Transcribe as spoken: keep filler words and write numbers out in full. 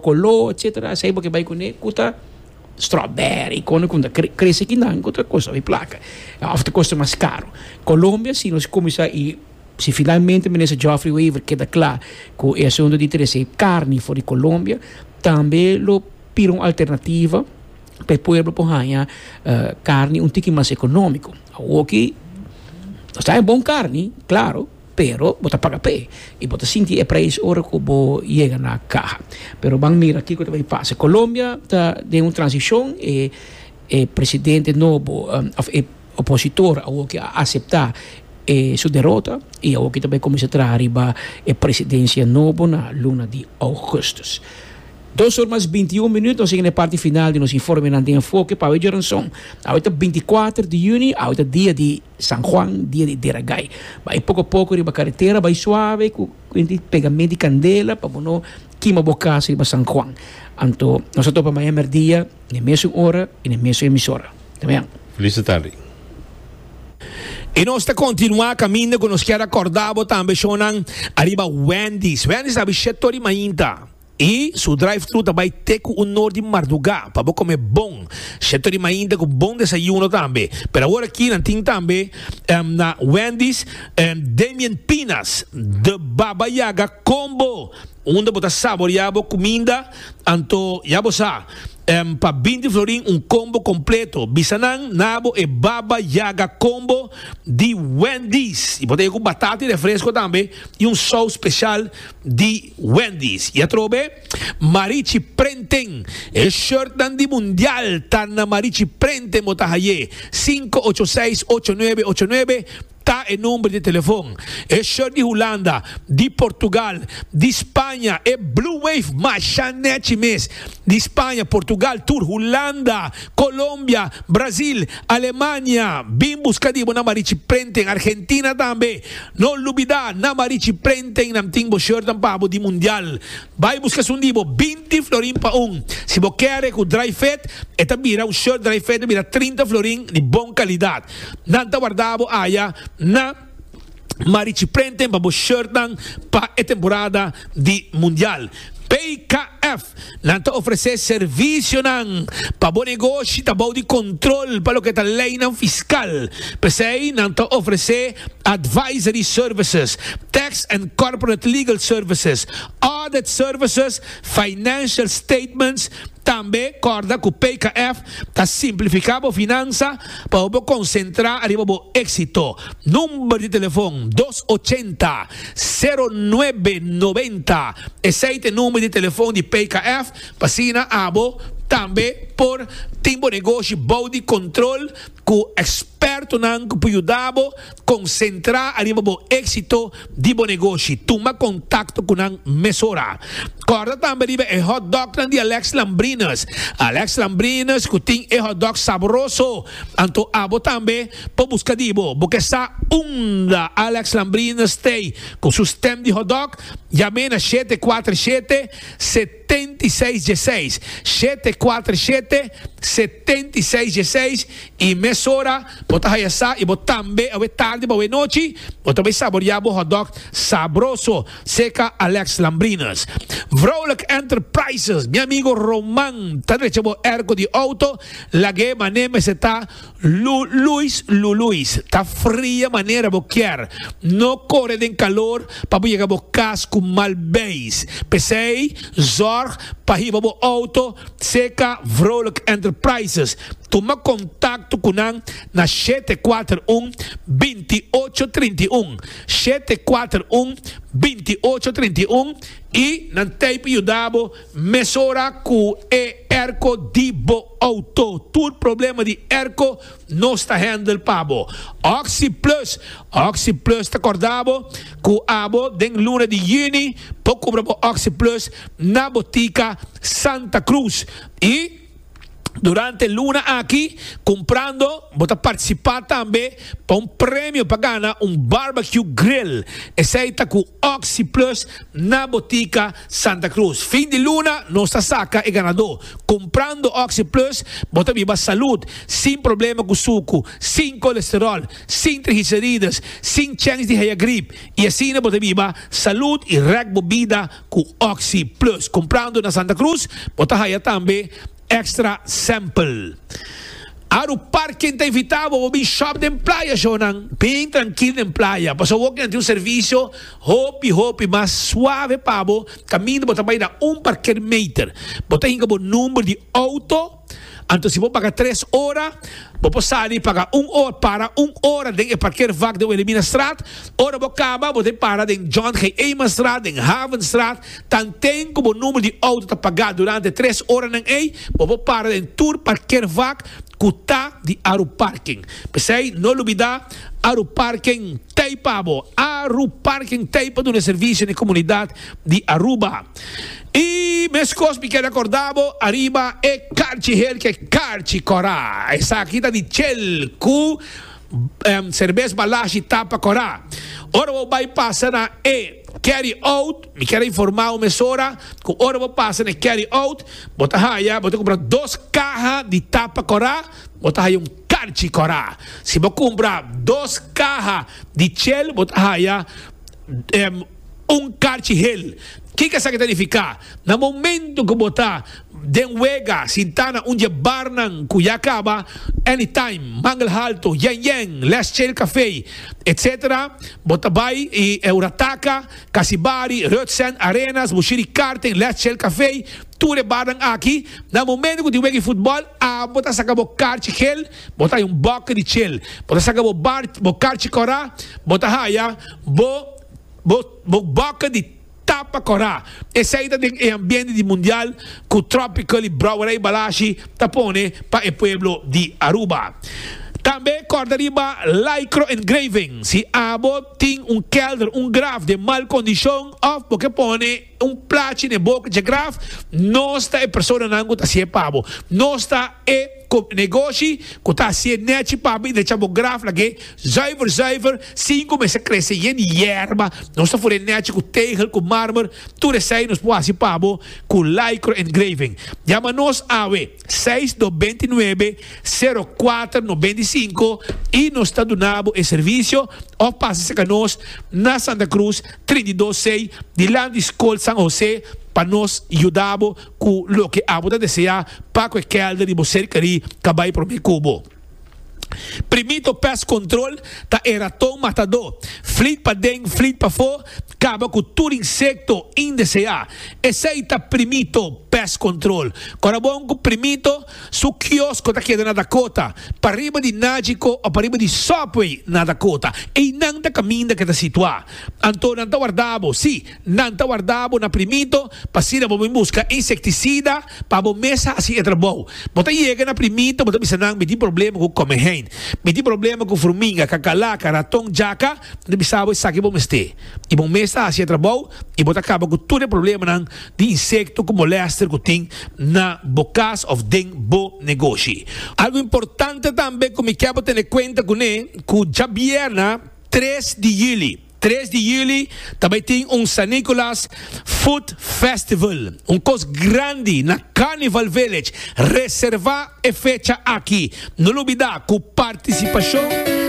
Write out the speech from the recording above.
Coló, etcétera. Esei bo ke bai kuné, ku ta strawberry, kon ku ta krese akinan, ku ta kosta hopi plaka. Òf ta kosta mas karu. Colombia, si nos kuminsá i si finalmente minister Geoffrey Wever keda kla ku e asuntu di trese karni for di Colombia, tambe lo bira un alternativa pa e pueblo por haña uh, karni un tiki mas ekonómiko. Oké, ta bon karni, klaro, pero bo ta paga p'e i bo ta sinti e preis ora ku bo yega na kaha. Pero ban mira kiko ta bai pasa. Colombia ta den un transishon e e presidente nobo um, òf e opositor ku a aseptá e su derota i awor ku tambe kuminsá traha riba e presidensia nobo na luna di ougùstùs. Dos or mas binti un minüt, nos ta na e parti final di nos informe na Enfoke pa Joranson. Awor binti kuater di yüni, awor dia di San Juan, dia di Dera Gai. Bai poko poko riba karetera, bai suave, ku pegamento di kandela, pa no kima bo kas riba San Juan. Anto, nos ta topa mañan mèrdia, na mesun ora i na mesun emisora. Ta bon? Felis tardi. I nos ta kontinuá kaminda ku nos ke rekordá tambe shonan ariba Wendy's. Wendy's ta habrí shet'or di mainta. I su drive-thru tambe te ku un or di mardugá pa kome bon. Shet'or di mainta ku bon desayuno tambe. Pero awor aki nan tin tambe um, na Wendy's um, Damian Pinas, The Baba Yaga Combo. Unda bo ta saboriá bo kuminda, anto ya bo sa. Um, pa binti florin un combo kompleto. Bisa nan na bo e Baba Yaga Combo di Wendy's. I bo tin ku batata i refresko tambe i un saus spesial di Wendy's. I atrobe Marichi Printing. E shirt dan di Mundial ta na Marichi Printing bo ta hay'é. sinku ocho seis ocho nuebe ocho nuebe ta e number di telefòn. E shirt di Hulanda, di Portugal, di Spaña, e Blue Wave masha nèchi mes. Di Spaña, Portugal, tur Hulanda, Colombia, Brasil, Alemania. Bin buska di bo na Marichi Printing, Argentina tambe. No lubidá, na Marichi Printing nan tin bo shirt pa bo di Mundial. Bai buska esun di bo binti florin pa un. Si bo ke ku dry fit, e ta bira un shirt dry fit, bira trinta florin di bon kalidat. Nan ta warda bo aya na Marichi Printing pa bo shirt nan pa e temporada di Mundial. P K F nan ta ofresé servisio nan pa bo negoshi ta bou di kontrol pa loke ta lei nan fiskal. P'esei nan ta ofresé advisory services, tax and corporate legal services, audit services, financial statements. Tambe kòrda ku P K F ta simplifiká bo finansa pa bo konsentrá riba bo éksito. Number di telefòn dos ocho zero zero nuebe nobenta. Esei ta e number di telefòn di P K F pa asina abo tambe por tin bo negoshi bou di kontrol ku ekspertonan ku por yuda bo konsentrá riba bo éksito di bo negoshi. Tuma kontakto ku nan mesora. Kòrda tambe riba e hot dog di Alex Lambrinas. Alex Lambrinas ku tin e hot dog sabroso. Anto abo tambe por buska di bo. Bo ke sa unda Alex Lambrinas t'ei ku su stand di hot dog, yama na shete kuater shete shetenta i seis diesseis, shete kuater shete shetenta i seis diesseis i mesora bo ta haya sa i bo tambe awe tardi pa anochi bo tambe saboriá bo hot dog sabroso serka Alex Lambrinas. Vrolijk Enterprises, mi amigu Roman, ta drecha bo airco di outo, lag'é manera mester ta Lu Luis Lu Luis, ta fria manera bo ke. No kore den kalor pa yega bo kas ku mal beis. P'esei, zorg pa hiba bo outo serka Vrolijk Enterprises. Tuma kontakto ku nan na shete kuater un binti ocho trinta i un, shete kuater un binti ocho trinta i un i nan t'ei pa yuda bo mesora ku e airco di bo outo. Tur problema di airco nos ta handle pa bo. Oxi Plus, Oxi Plus ta kòrda bo ku abo den luna di yüni por kumpra bo Oxi Plus na botika Santa Cruz. I Durante luna aki, cumprando, bo ta participa tambe pa un premio pa gana un barbecue grill. Esey ta cu Oxi Plus na Botica Santa Cruz. Fin di luna, nos ta saca e ganador. Cumprando Oxi Plus, bo ta biba salud, sin problema cu suco, sin colesterol, sin triglicérides, sin chance di haya griep. Y asina bo ta biba salud y rek bo bida cu Oxi Plus. Cumprando na Santa Cruz, bo ta haya tambe extra sample. Aru Parking ta invita bo bin shop den Playa, shonan. Bin trankil den Playa. Paso bo tin un servicio hopi hopi mas suave pa bo. Caminda bo ta bay na un parkeermeter. Bo ta hinca bo number di auto. Anto si bo paga tres ora, bo por sali paga un ora, para un ora den e parkeervak den Wilhelminastraat. Ora bo caba, bo ta para den John G. Emanstraat, den Havenstraat. Tanten cu bo number di auto ta paga durante tres oranan ey, bo por para den tur parkeervak cu ta di Aru Parking. Pesey, no lubida, Aru Parking t'ey pa bo. Aru Parking t'ey pa duna servicio na comunidad di Aruba. Y mescos mi kier corda bo ariba e carchi hel cu carchi cora. Esaki ta di Shell cu um, cerbes Balashi tapa cora. Ora bo bay pasa na e carry out, mi kier informa un mesora, cu ora bo pasa na carry out, bo ta haya, bo ta cumpra dos caha di tapa cora, bo ta haya un carchi cora. Si bo cumpra dos caha di Shell, bo ta haya um, un carchi hel. Kico esaki ta significa? Na momento cu bo ta den wega, sinta na un barnan cu ya caba, Anytime, Mangel Halto, Yen Yen, Les Chill Café, et cetera. Bo ta bay e Eurataka, Casibari, Rutsen, Arenas, Bushiri Karting, Les Chill Café, tur e barnan aki, na momento cu tin wega futbol, ah, bo ta saca bo carchi hel, bo ta un boca di Shell, bo ta saca bo bar, bo carchi cora, bo ta haya, bo bo bo boca di tapa cora. Esey ta e ambiente di Mundial cu Tropical y Brouwerij Balashi ta pone pa e pueblo di Aruba. Tambe corda riba Lycro Engraving. Si abo tin un kelder, un graf den mal condicion of bo kier pone un plachi na boca di graf, nos ta e personanan cu ta haci'e pa bo. Nos ta e negoshi cu ta haci'e nechi pa bo y drecha bo graf lag'e zuiver zuiver, sin cuminsa crece yen yerba. Nos ta fura nechi cu tegel, cu marmer, tur esey nos por haci pa bo cu Lycro Engraving. Yama nos awe seis dos nuebe cero cuater noventa y cinco y nos ta duna bo e servicio of pasa cu nos na Santa Cruz trinta i dos C dilanti Scol San José pa nos yuda cu loke abo ta desea pa cu kelder di bo cerca cu bay prome cu bo. Primito Pest Control ta e raton matador. Flit pa den, flit pa fo, caba cu tur insecto indesea. Esey ta Primito Pest Control. Corda bon cu Primito, su kiosco ta keda na Dakota. Pariba di Nagico of pariba di Subway na Dakota. Y nan ta caminda cu e ta situa. Anto nan ta warda bo, si, nan ta warda bo na Primito, pa asina bo busca insecticida pa bo mes haci e trabou. Bo ta yega na Primito, bo ta bisa nan, "Mi tin problema cu komehein. Mi tin problema cu furminga, cacalaca, raton, djaca," nan bisa bo, "Esaki bo mester." Y bo mes haci e trabou y bo ta caba cu tur e problemanan di insecto cu molester cu tin na bo cas of den bo negoshi. Algo importante tambe cu mi kier tene cuenta cu ne, cu diabierna tres di juli, tres di juli tambe tin un San Nicolas Food Festival, un cos grandi na Carnival Village. Reserva e fecha aki. No lubida cu participacion